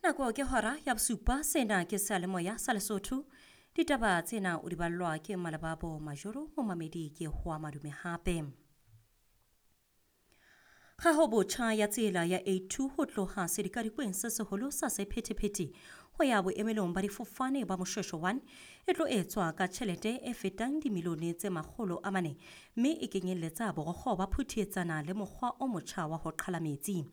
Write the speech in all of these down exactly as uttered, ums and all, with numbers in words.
Nako ke hora ya bosupa, sena ke seyalemoya sa Lesotho. Ditaba tsena o di ballwa ke Malebabo Majoro, momamedi ke Hoa Madume hape. Kgaho botjha ya tsela ya A two ho tloha sedikadikweng se seholo sa sephethephethe ho ya boemelong ba difofane ba Moshweshwe one e tlo etswa ka tjhelete e fetang dimilione tse makgolo a mane, mme e kenyelletsa borokgo ba phuthietsana le mokgwa o motjha wa ho qhala metsi.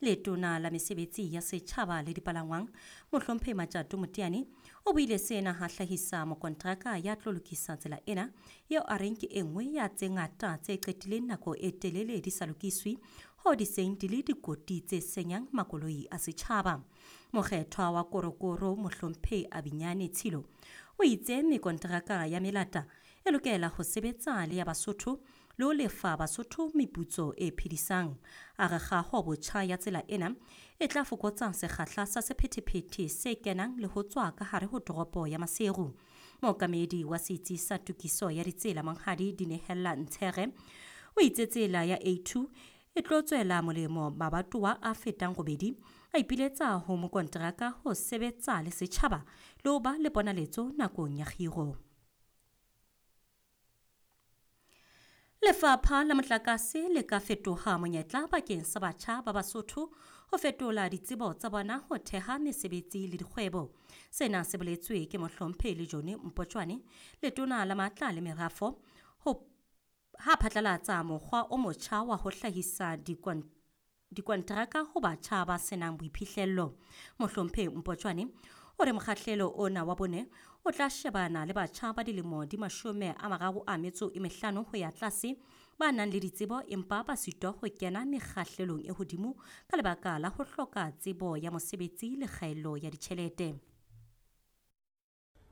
Letona la mesebetsi ya setjhaba le dipalangwang, Mohlomphehi Matjato Moteane, o buile sena ha hlahisa mokontraka ya tlo lokisa tsela ena, eo a reng ke e nngwe ya tse ngata tse qetileng nako e telele di sa lokiswe, ho di seng di le dikoti tse senyang makoloi a setjhaba. Mokgethwa wa Korokoro Mohlomphehi Abinyane Tshilo o itse mekontraka ya melata e lokela ho sebetsa le ya Basotho le ho lefa Basotho meputso e phedisang. A re kgaho botjha ya tsela ena e tla fokotsa sekgahla sa sephethephethe se kenang le ho tswa ka hare ho toropo ya Maseru. Mookamedi wa setsi sa tokiso ya ditsela Monghadi Dinehella Ntshere o itse tsela ya A two e tlo tswela molemo mabatowa a fetang robedi, a ipiletsa ho mokonteraka ho sebetsa le setjhaba le ho ba le ponaletso nakong ya kgiro. Lefapha la motlakase le ka fetoha monyetla bakeng sa batjha ba Basotho ho fetola ditsebo tsa bona ho theha mesebetsi le dikgwebo. Sena se boletswe ke Mohlomphehi Lejone Mpotjwane, letona la matla le merafo, ho ha phatlalatsa mokgwa o motjha wa ho hlahisa dikonteraka ho batjha ba senang boiphihlello. Mohlomphehi Mpotjwane o re mokgahlelo ona wa bone o tla shebana le batjha ba dilemo di mashome a mararo a metso e mehlano ho ya tlase ba nang le ditsebo empa ba sitwa ho kena mekgahlelong e hodimo ka lebaka la ho hloka tsebo ya mosebetsi le kgaello ya ditjhelete.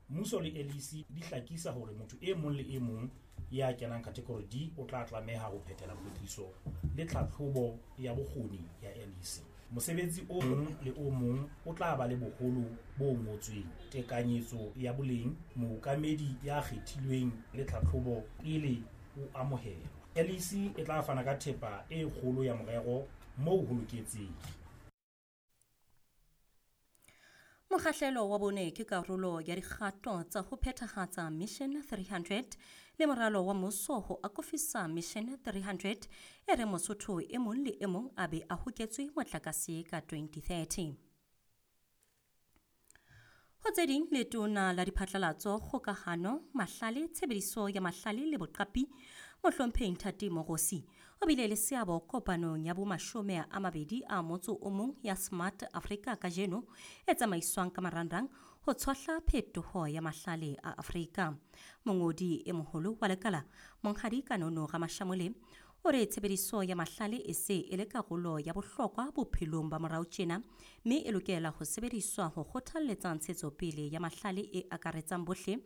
Mmuso le L E C di hlakisa hore motho e mong le e mong ya kenang category D o tla tlameha ho phethela kwetliso le tlhatlhobo ya bokgoni ya L E C. Mosebetsi o mong le o mong o tla ba le boholo bo ngotsweng, tekanyetso ya boleng, mookamedi ya kgethilweng le tlhatlhobo pele o amohelwa. L E C e tla fana ka thepa e kgolo ya morero moo ho loketseng. Mokgahlelo wa bone ke karolo ya dikgato tsa ho phethahatsa Mission three hundred le moralo wa mmuso ho akofisa Mission three hundred e re Mosotho e mong le e mong a be a hoketswe motlakase ka twenty thirty. Ho tse ding, letona la diphatlalatso, kgokahano, mahlale, tshebediso ya mahlale le boqapi, Mohlomphehi Nthati Mogosi, o bile le seabo kopanong ya bomashome a mabedi a motso o mong ya Smart Africa kajeno e tsamaiswang ka marangrang ho tshohla phetoho ya mahlale a Afrika. Mongodi e moholo wa lekala, Monghadi Kanono Ramashamole, o re tshebediso ya mahlale e se e le karolo ya bohlokwa bophelong ba morao tjena, mme e lokela ho sebediswa ho kgothalletsa ntshetsopele ya mahlale e akaretsang bohle.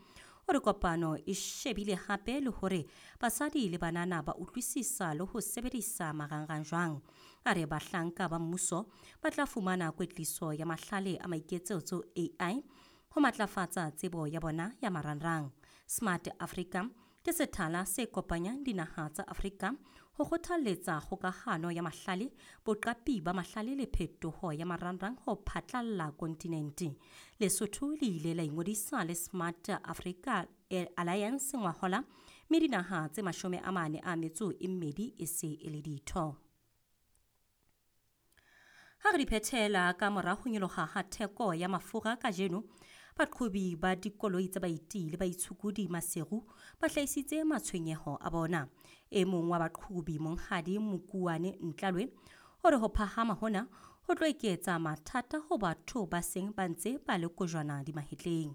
O re kopano e shebile hape le hore basadi le banana ba utlwisisa le ho sebedisa marangrang jwang. A re bahlanka ba mmuso ba tla fumana kwetliso ya mahlale a maiketsetso A I ho matlafatsa tsebo ya bona ya marangrang. Smart Africa ke sethala se kopanyang dinaha tsa Afrika ho kgothalletsa kgokahano ya mahlale, boqapi ba mahlale le phetoho ya marangrang ho phatlalla kontinente. Lesotho le ile la ingodisa le Smart Africa Alliance ngwahola, mme dinaha tse mashome a mane a metso e mmedi e se e le ditho. Ha re di phethela ka mora ho nyoloha ha theko ya mafura kajeno, baqhobi ba dikoloi tsa baeti le baitshokodi Maseru ba hlahisitse matshwenyeho a bona. E mong wa baqhobi, Monghadi Mokuane Ntlalwe, o re ho phahama hona ho tlo eketsa mathata ho batho ba seng ba ntse ba le kojwana dimahetleng.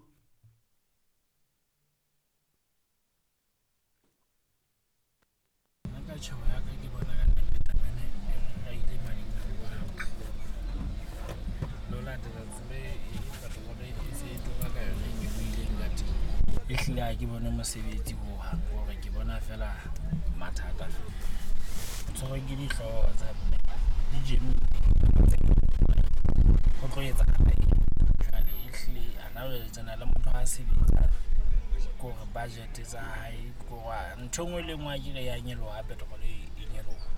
Nna ka tjhebo ya ka ke bona ka nnete taba ena e ile mane lo latela tsela e petrol e se e tura ka yona e nyolohileng ka teng. Ehlile ha ke bone mosebetsi hohang, hore ke bona feela mathata feela. Tshwerwe ke dihlooho tsa mme di jeme ho tlo etsahala eng jwale. Ehlile hana jwale tjena le motho ha sebetsa ke hore budget tsa hae ke hore ntho e nngwe le e nngwe akere ya nyoloha, petrol e nyoloha.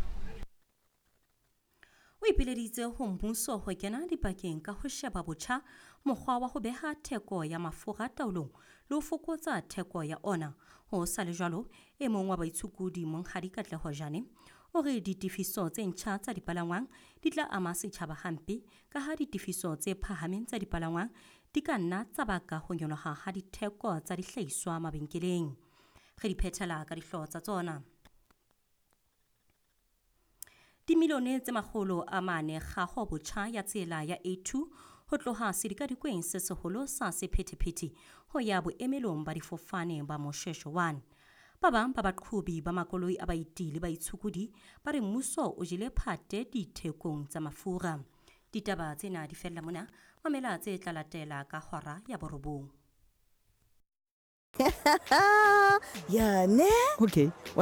O ipileditse ho mmuso ho kena dipakeng ka ho sheba botjha mokgwa wa ho beha theko ya mafura taolong le ho fokotsa theko ya ona. Ho sa le jwalo, e mong wa baitshokodi Monghadi Katleho Jane o re ditefiso tse ntjha tsa dipalangwang di tla ama setjhaba hampe ka ha ditefiso tse phahameng tsa dipalangwang di ka nna tsa baka ho nyoloha ha ditheko tsa dihlahiswa mabenkeleng. Re di phethela ka dihlooho tsa tsona. Dimilione tse makgolo a mane kgaho botjha ya tsela ya A two ho tloha sedikadikweng se seholo sa sephethephethe ho ya boemelong ba difofane ba Moshoeshoe one. Ba bang ba baqhobi ba makoloi a baeti le baitshokodi ba re mmuso o jele phate dithekong tsa mafura. Ditaba tsena di fella mona, mamela tse tla latela ka hora ya borobong. Ya ne? Okay.